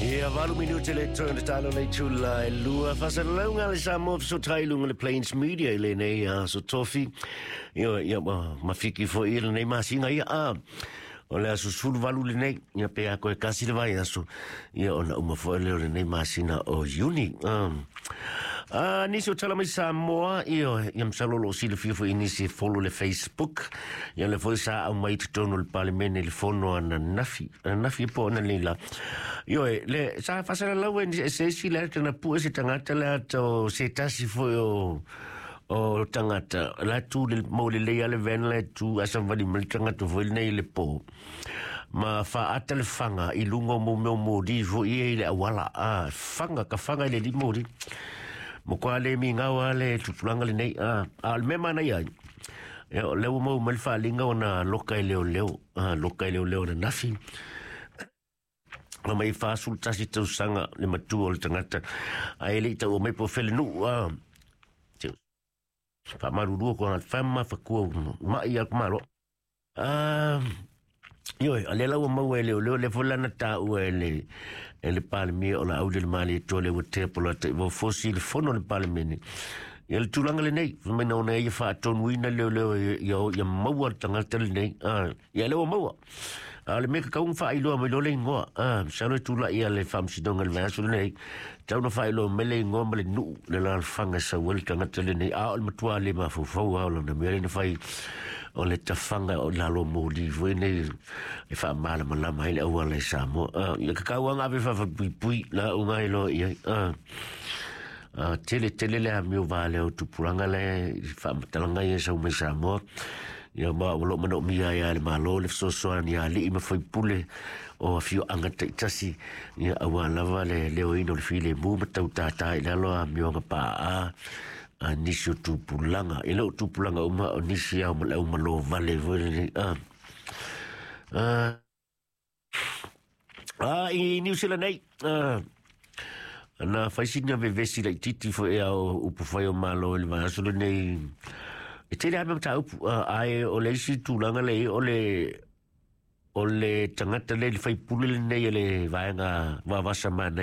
Ia 8 minute le toe ona talo le itula e 2. Faasalalauga a le Samoa fesootai i luga o le Plains Media i lenei aso Tofi. Ia, ia mafiki foi i lenei masina ia. O le aso 18 lenei, ia pe a koe kasi le vai aso, ia ona uma foi lea o lenei masina o Iuni. Nisi o tala mai Samoa, ia, ia masalo o lo o silafia foi nisi e follow le Facebook. Ia le foi sa au mai i totonu o le Palemene i le fono ananafi, ananafi po o analeila. Ioe, le sa faasalalau e se isi le ata na pue se tagata le ata o se tasi foi o tagata la tu le mo le lei ale ven le tu asa vali mai le tagata foi lenei le po ma faata le faga i luga o mo mea o moli foi ia i le auala a faga ka faga i le alii moli mo koa le migao a le tupulaga lenei a o le mea manaia ai ia o lea ua maua mai le faaliga ona loka e leoleo loka e leoleo ananafi ma mai 41 tausaga le matua o le tagata ae le i taua mai po o felenuu a faamalulua ko fama fakua mai a malo. Ioe, a lea la ua maua e leoleo le foi lana taua e le Palemia o la auli le mali e le ua tea pola te ua fosi le fono le Palemene. Ia le tulaga lenei, fai mai na ona ia faatonuina leoleo ia, ia maua le tagata lenei. Ia lea ua maua. A o le mea kakau na faailoa mai loa le igoa. Masalo e tulai ia le faamasinoga i le vaiaso lenei. Tau na faailoa mai le igoa ma le nuu le alaalafaga e sau ai le tagata lenei. A o le matua le mafaufau a o lana mea lea na fai o le tafaga o lalo moli foi nei e faamalamalama ai le auala i Samoa. Ia kakau anga ave faafapuipui la uga ai loa i ai. Tele tele le amio valea o tupulaga le faamatalaga ia sau mai Samoa. Ia ma o lo manaomia ai le Malo le fesoasoani a alii ma faipule o afioaga taitasi ia aua lava le leoina o le filemu ma tautātā i lalo amioga paa a nisi o tupulaga. E le o tupulaga uma o nisi ao ma le au malo vale foi lenei. I New Zealand nei, na fai sina vevesi laititi foi ao upu fai o Malo i le vaiaso lenei. E tele lava mataupu, ae o le isi tulaga lea o le tagata le faipule lenei e le vaega vavasa manai.